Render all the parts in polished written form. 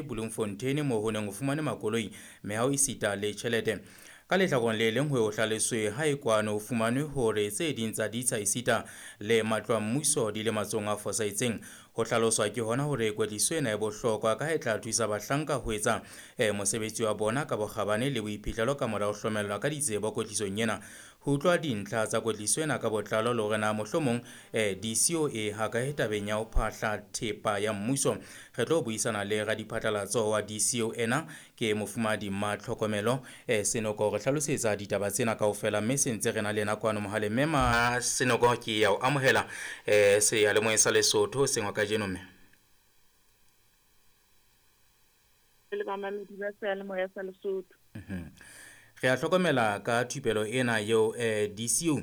Bloemfontein moo ho neng ho fumane makoloi, meaho esita le tjhelete. Ka lehlakoreng le leng ho hlaloswe ha e kwano ho fumanwe hore tse ding tsa ditsha esita le matlo a mmuso di le matsohong a fosahetseng. Ho hlaloswa ke hona hore kwetliso ena e bohlokwa ka ha e tla thusa bahlanka ho etsa mosebetsi wa bona ka bokgabane le boiphihlelo ka mora ho hlomellwa ka ditsebo kwetlisong ena. Ho utlwa dintlha tsa kwetliso ena ka botlalo le hore na mohlomong DCO e hakae tabeng ya ho phahla thepa ya mmuso, re tlo buisana le radiphatlalatso wa DCO ena ke mofumahadi Matlhokomelo Senoko re hlalosetsa ditaba tsena kaofela, mme se ntse re na le yena kwano mohaleng. Mme Ma Senoko, ke ya o amohela seyalemoyeng sa Lesotho sengwa kajeno mme. Le bamamedi ba seyalemoya sa Lesotho. Re a hlokomela ka thupelo ena eo DCU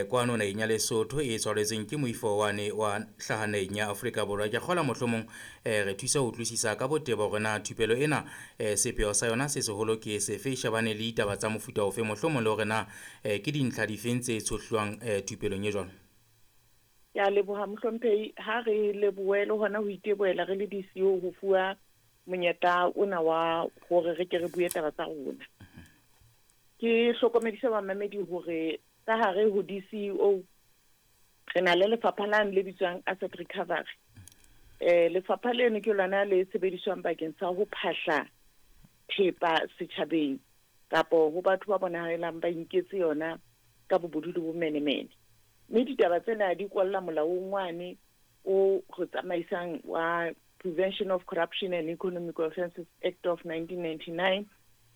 kwano naheng ya Lesotho e tshwaretsweng ke moifo wane wa hlaha naheng ya Afrika Borwa. Ke kgola mohlomong re thusa ho utlwisisa ka botebo hore na thupelo ena sepheo sa yona se seholo ke sefe, e shebane le ditaba tsa mofuta ofe, mohlomong le hore na ke dintlha difeng tse tshohlwang thupelong e jwalo. Ke a leboha mohlomphehi, ha re lebohe le hona ho itebohela re le DCO ho fuwa monyetla ona wa hore re ke re bue taba tsa rona. Ke hlokomedisa bamamedi hore ka hare ho DCO re na le lefapha lane le bitswang Asset Recovery. Lefapha leno ke lona le sebediswang bakeng sa ho phahla thepa setjhabeng kapo ho batho ba bonahalang ba inketse yona ka bobodu le bomenemene. Mme ditaba tsena di kwalla molaong wane o re tsamaisang wa Prevention of Corruption and Economic Offences Act of 1999.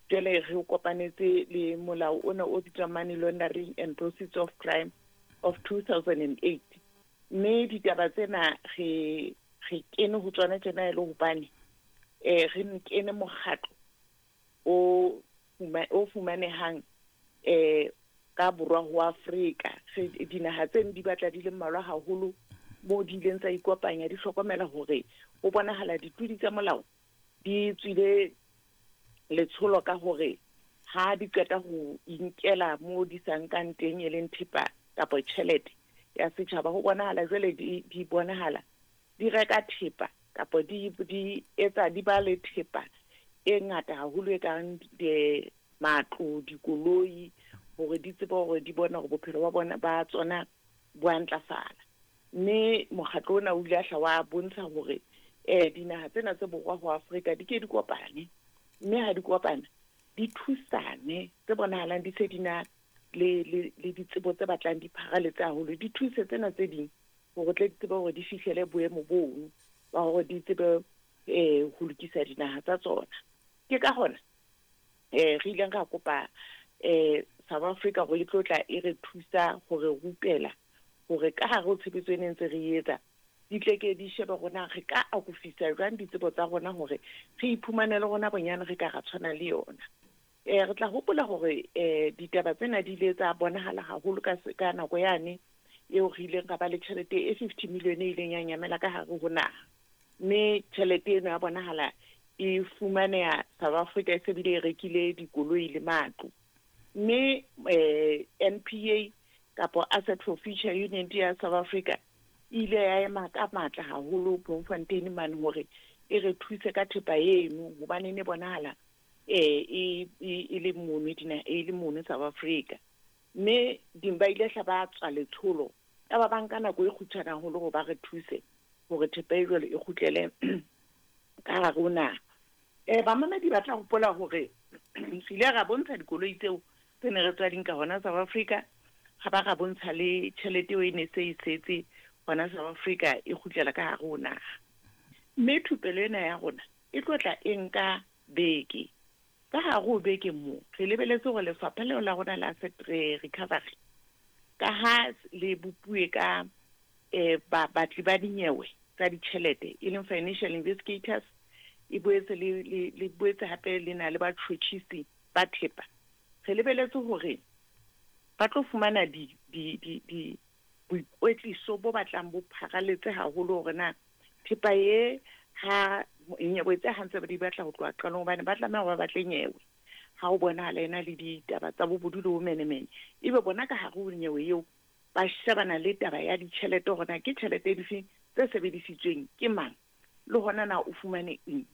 Jwale re o kopanetse le molao ona o bitswang Money Laundering and Proceeds of Crime of 2008. Mme ditaba tsena re kene ho tsona tjena e le hobane re kene mokgatlo o fumanehang ka borwa ho Afrika. Dinaha tse di batla di le mmalwa haholo moo di ileng tsa ikopanya, di hlokomela hore ho bonahala ditlodi tsa molao di tswile letsholo ka hore ha di qeta ho inkela moo di sa nkang teng e leng thepa kapa tjhelete ya setjhaba, ho bonahala jwale di bonahala di reka thepa kapa di etsa di ba le thepa e ngata haholo e kang matlo, dikoloi, hore di tsebe hore di bone hore bophelo ba bona ba tsona bo a ntlafala. Mme mokgatlo ona o ile a hla wa bontsha hore dinaha tsena tse borwa ho Afrika di ke di kopane, mme ha di kopana di thusane, tse bonahalang di se di na le ditsebo tse batlang di pharaletse haholo, di thuse tsena tse ding hore tle di tsebe hore di fihlele boemo bono ba hore di tsebe ho lokisa dinaha tsa tsona. Ke ka hona re ileng ra kopa South Africa hore e tlo tla e re thusa hore rupela hore ka hare ho tshebetso e neng ntse re etsa di tle ke di shebe rona re ka akofisa jwang ditsebo tsa rona hore re iphumanele rona bonyane re ka ra tshwana le yona. Re tla hopola hore ditaba tsena di ile tsa bonahala haholo ka nako yane eo re ileng ra ba le tjhelete e 50 million e ileng ya nyamela ka hare ho naha. Mme tjhelete eno ya bonahala e fumaneha South Africa e se bile e rekile dikoloi le matlo. Mme NPA kapo Asset for Future Unit ya South Africa ile ya ema ka matla haholo Bloemfontein mane hore e re thuse ka thepa eno hobane ne bonahala e le mono dina e le mono South Africa. Mme ba ile hla ba tswa letsholo ya ba banka nako e kgutshwane haholo hore ba re thuse hore thepa e jwalo e kgutlele ka hare ho naha. Bamamedi ba tla hopola hore re ile ra bontsha dikoloi tseo tse ne re tswa di nka hona South Africa, ga ba ra bontsha le tjhelete eo e ne se e setse hona South Africa e kgutlela ka hare ho naha. Mme thupelo ena ya rona e tlo tla e nka beke. Ka hare ho beke moo re lebeletse hore lefapha leo la rona la Asset Recovery ka ha le bopuwe ka batli ba dinyewe tsa ditjhelete e leng financial investigators, e boetse le boetse hape le na le batjhotjhisi ba thepa. Re lebeletse hore ba tlo fumana di boikwetliso bo batlang bo pharaletse haholo hore na thepa e ha nyewe tse hantse ba di batla ho tloha qalong, hobane ba tlameha hore ba batle nyewe ha o bonahala ena le ditaba tsa bobodu le bomenemene, ebe bona ka hare ho nyewe eo ba shebana le taba ya ditjhelete hore na ke tjhelete difeng tse sebedisitsweng ke mang le hona na o fumane eng.